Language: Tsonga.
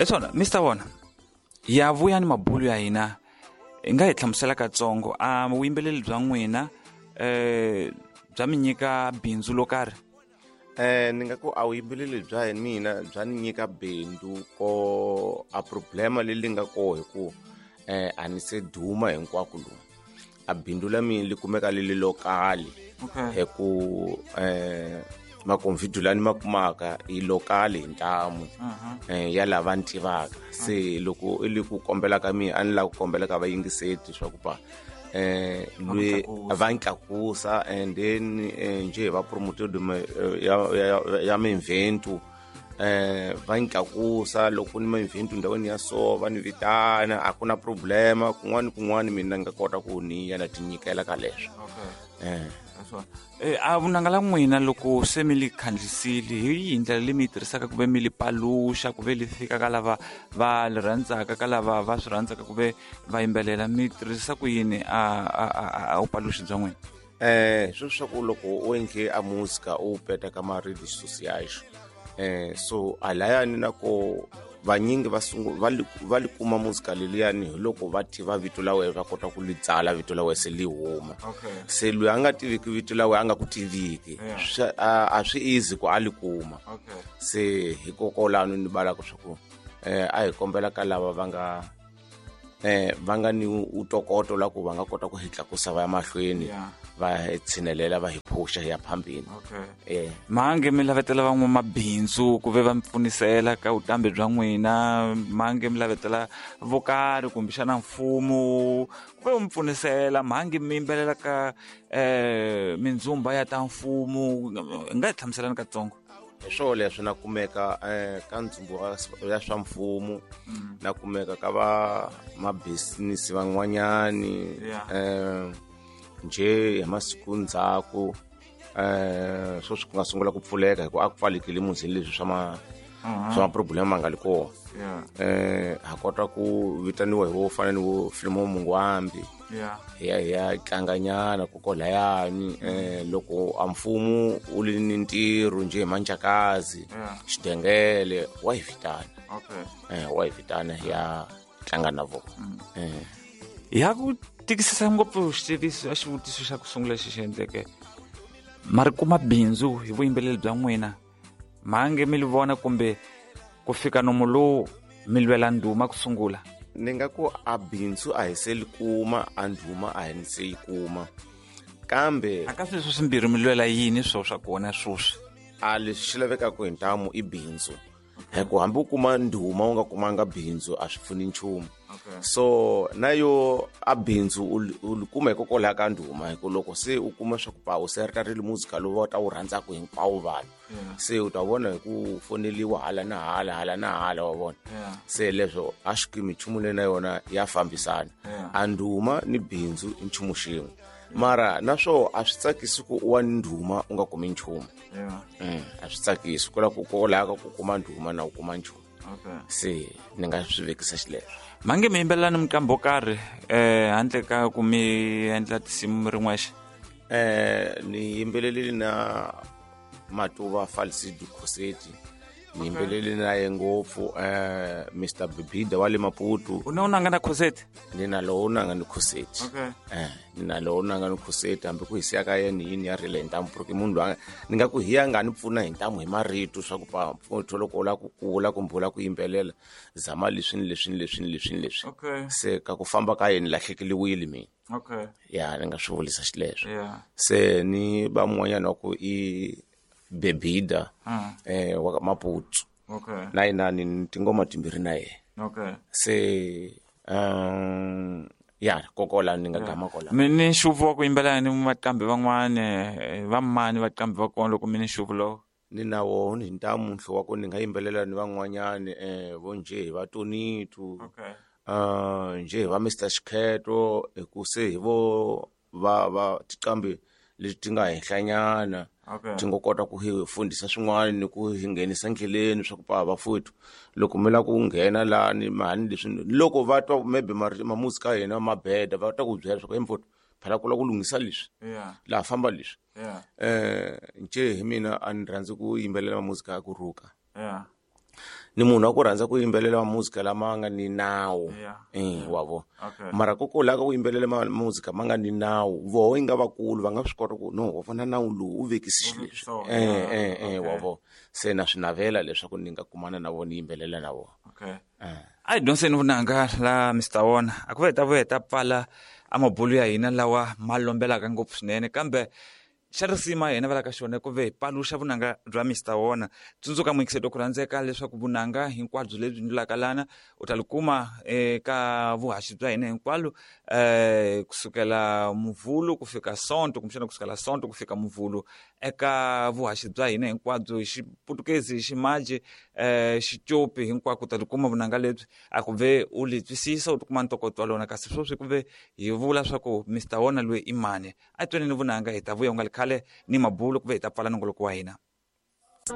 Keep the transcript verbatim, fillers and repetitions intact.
Eswona Mister Vona ya vuya ni mabulu ya hina hi nga hi hlamusela katsongo a vuyimbeleri bya n'wina eh bya mi nyika bindzu lo karhi? Eh ni nga ku a vuyimbeleri bya mina bya ni nyika bindzu ko a problema leyi nga koho hi ku eh a ni se duma hinkwako lomu a bindzu la mina li kumeka li li lokali hi ku eh makonvidu lani ma kumaka i lokali hi ntamu eh ya lava ni tivaka se loko i li ku kombela ka mina a ni lava ku kombela ka vayingiseti swa ku pa eh lwe va ntlakusa and then nje va promoter ya ya minventu eh va ntlakusa loko ni minventu ndhawini ya so va ni vitana a ku na problema kun'wana kun'wana mina nga kota ku ni ya na tinyikela ka leswo. Eh eh a vunanga la n'wina loko se mi li khandlisile hi yihi ndlela leyi mi yi tirhisaka ku ve mi li paluxa ku ve li fika ka lava va li rhandzaka ka lava va swi rhandzaka ku ve va yimbelela mi tirhisa ku yini a a a vupaluxi bya n'wina? Eh swo swa ku loko u endle a muzika u peta ka ma redes sociais eh so alayani na ko vanyingi va sungu va li va li kuma muzika leliyani hi loko va tiva vito la wena va kota ku li tsala vito la wena se li huma. Se loyi a nga tiviki vito la wena a nga ku tiviki a swi easy ku a li kuma. Se hikokwalano ni balaka swa ku eh a hi kombela ka lava va nga eh va nga ni utokoto la ku va nga kota ku hi tlakusa va ya mahlweni va hi tshinelela va hi phusha hi ya phambini. Eh mange mi lavetela van'wamabindzu ku ve va mi pfunisela ka vutambi bya n'wina mange mi lavetela vo karhi kumbexana mfumo ku ve mi pfunisela mhangi mi yimbelela ka eh mindzumba ya ta mfumo hi nga hi hlamuselani katsongo? Hi swo leswi na kumeka eh ka ndzumbu ya swa mfumo na kumeka ka va mabusiness van'wanyani eh nje hi masiku ndzhaku eh swo swi nga sungula ku pfuleka hi ku a ku pfalekile muzini leswi swa ma swa ma-problem ma nga li kona. Eh ha kota ku vitaniwa hi vo fana ni vo Filimo Mungwambi hi ya hi ya tlanganyana kokolayani eh loko a mfumo u li ni ntirho nje hi Manjakazi Xidengele wa hi vitana. Eh wa hi vitana hi ya tlanga na vona. Eh ya ku tikisisa ngopfu xitiviso a xivutiso xa ku sungula lexi xi endleke ma ri kuma bindzu hi vuyimbeleri bya n'wina mhange mi li vona kumbe ku fika nomu lowu mi lwela ndhuma ku sungula? Ni nga ku a bindzu a hi se li kuma a ndhuma a hi ni se yi kuma kambe a ka sweswo swimbirhi mi lwela yini swo swa kona swoswi? A leswi xi lavekaka hi ntamu i bindzu hi ku hambi u kuma ndhuma u nga kumanga bindzu a swi pfuni nchumu. So na yo a bindzu u li kuma hikokwalaho ka ndhuma hi ku loko se u kuma swa ku pa u se ri ta ri li muzika lowu va ta wu rhandzaka hinkwavo vanhu se u ta vona hi ku foneliwa hala na hala hala na hala wa vona. Se leswo a xikimi nchumu leyi na yona ya fambisana a ndhuma ni bindzu i nchumu xin'we mara naswo a swi tsakisi ku u wa ni ndhuma u nga kumi nchumu. A swi tsakisi ku lava ku kolaka ku kuma ndhuma na u kuma nchumu. Se ni nga swi vekisa xileswo. Mange mi yimbelela ni miqambo karhi eh handle ka ku mi endla tinsimu mi ri n'wexe? Eh ni yimbelelile na Matuva Falcido Khoseti ni yimbelele na ye ngopfu eh Mister Bibida wa le Maputo. U na u nanga na Khoseti? Ni na lowu nanga ni Khoseti. Eh ni na lowu nanga ni Khoseti hambi ku hi siya ka yena yini ya rile hi ntamu porque munhu loyi ni nga ku hi ya nga ni pfuna hi ntamu hi marito swa ku pa pfuno loko u lava ku kula kumbe u lava ku yimbelela zama leswi ni leswi ni leswi ni leswi ni leswi. Se ka ku famba ka yena lahlekeliwile mina. Ya ni nga swi vulisa xileswo. Se ni va mun'wanyana wa ku i Bebida eh wa Maputo. Na yena ni tingoma timbirhi na yena. Se um ya kokola ni nga gama kola. Mi ni nxuvu wa ku yimbelela ni vaqambi van'wani va mani vaqambi va kona loko mi ni nxuvu lowu? Ni na wona hi ntamu nhlo wa ku ni nga yimbelela ni van'wanyani eh vo nje hi va Tonitu uh nje hi va Mister Xikheto hi ku se hi vo va va tiqambi leti ti nga henhlanyana ti nga kota ku hi fundisa swin'wana ni ku hi nghenisa ndleleni swa ku pa vafowethu loko mi lava ku nghena lani mhani leswi loko va twa maybe mamuzika ya hina ma beda va ta ku byela swa ku mfowethu phela ku lava ku lunghisa leswi laha famba leswi. Eh nje hi mina a ni rhandzi ku yimbelela mamuzika ya ku rhuka. Ni munhu wa ku rhandza ku yimbelela muzika lama nga ni nawu. Yeah. Eh, wa vo. Okay. Mara koko la ka ku yimbelela ma- muzika ma nga ni nawu, voho yi nga vakulu va nga swi kota ku no wa vona nawu lowu u vekisi xilo leswi. So, Eh, yeah, eh, eh, wa okay. vo. Se na swi navela leswaku ni nga kumana na vona ni yimbelela na vona. Okay. A hi dyondzeni vunanga la Mister Wona a ku ve hi ta vuya hi ta pfala a mabulu ya hina lawa ma lombelaka ngopfu swinene kambe xa risima hina va la ka xona ku ve hi paluxa vunanga bya Mister Wona. Tsundzuka muyingiseti ku rhandzeka leswaku vunanga hinkwabyo lebyi ndlulaka lana u ta li kuma eka vuhaxi bya hina hinkwalo um kusukela muvhulu ku fika sonto kumbexana kusukela sonto ku fika muvhulu eka vuhaxi bya hina hinkwabyo hi xiputukezi hi ximaji um xicopi hinkwako u ta li kuma vunanga lebyi a ku ve u li twisisa u tikuma ntokoto wa lona kasi sweswi ku ve hi vula swa ku Mister Wona loyi i mani. A hi twaneni vunanga hi ta vuya ku nga li khale ni mabulu ku ve hi ta pfala nongoloko wa hina.